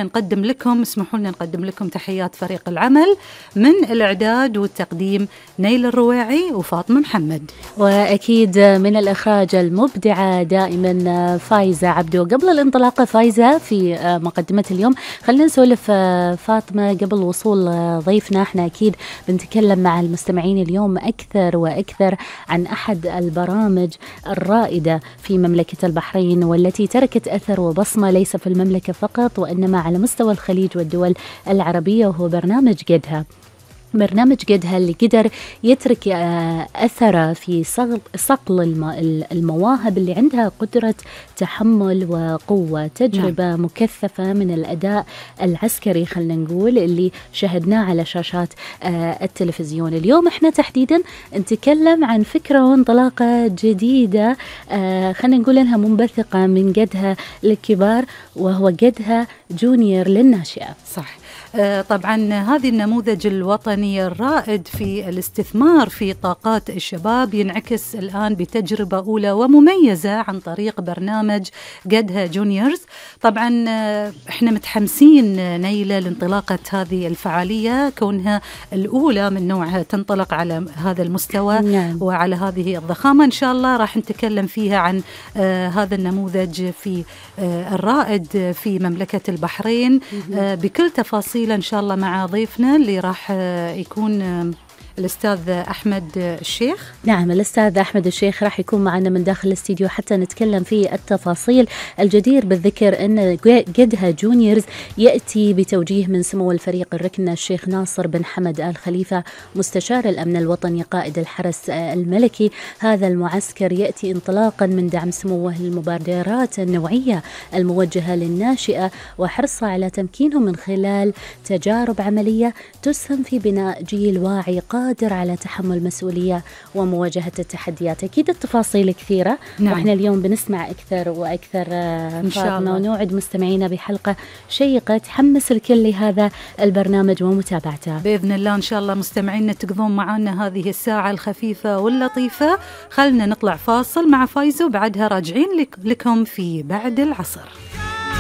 نقدم لكم، اسمحوا لنا نقدم لكم تحيات فريق العمل من الإعداد والتقديم نيل الرويعي وفاطمة محمد، وأكيد من الإخراج المبدعة دائما فايزة عبدو. قبل الانطلاقة فايزة في مقدمة اليوم، خلينا نسولف فاطمة قبل وصول ضيفنا. احنا أكيد بنتكلم مع المستمعين اليوم أكثر وأكثر عن أحد البرامج الرائدة في مملكة البحرين، والتي تركت أثر وبصمة ليس في المملكة فقط وإنما على مستوى الخليج والدول العربية، وهو برنامج قدها. برنامج قدها اللي قدر يترك أثره في صقل المواهب اللي عندها قدرة تحمل وقوة، تجربة مكثفة من الأداء العسكري خلنا نقول اللي شاهدناه على شاشات التلفزيون. اليوم احنا تحديدا نتكلم عن فكرة وانطلاقة جديدة خلنا نقول انها منبثقة من قدها للكبار، وهو قدها جونيور للناشئة. صح. طبعا هذه النموذج الوطني الرائد في الاستثمار في طاقات الشباب ينعكس الآن بتجربة أولى ومميزة عن طريق برنامج قدها جونيورز. طبعا احنا متحمسين نيلة لانطلاقة هذه الفعالية، كونها الأولى من نوعها تنطلق على هذا المستوى وعلى هذه الضخامة. إن شاء الله راح نتكلم فيها عن هذا النموذج في الرائد في مملكة البحرين بكل تفاصيل إن شاء الله مع ضيفنا اللي راح يكون الأستاذ أحمد الشيخ. نعم، الأستاذ أحمد الشيخ راح يكون معنا من داخل الاستديو حتى نتكلم في التفاصيل. الجدير بالذكر أن قدها جونيورز يأتي بتوجيه من سمو الفريق الركن الشيخ ناصر بن حمد آل خليفة مستشار الأمن الوطني قائد الحرس الملكي. هذا المعسكر يأتي انطلاقا من دعم سموه للمبادرات النوعية الموجهة للناشئة وحرصها على تمكينهم من خلال تجارب عملية تسهم في بناء جيل واعي قادر على تحمل مسؤولية ومواجهة التحديات. أكيد التفاصيل كثيرة. وإحنا اليوم بنسمع أكثر وأكثر إن شاء الله، ونوعد مستمعينا بحلقة شيقة تحمس الكل لهذا البرنامج ومتابعته بإذن الله. إن شاء الله مستمعينا تقضون معنا هذه الساعة الخفيفة واللطيفة. خلنا نطلع فاصل مع فايزة وبعدها راجعين لكم في بعد العصر.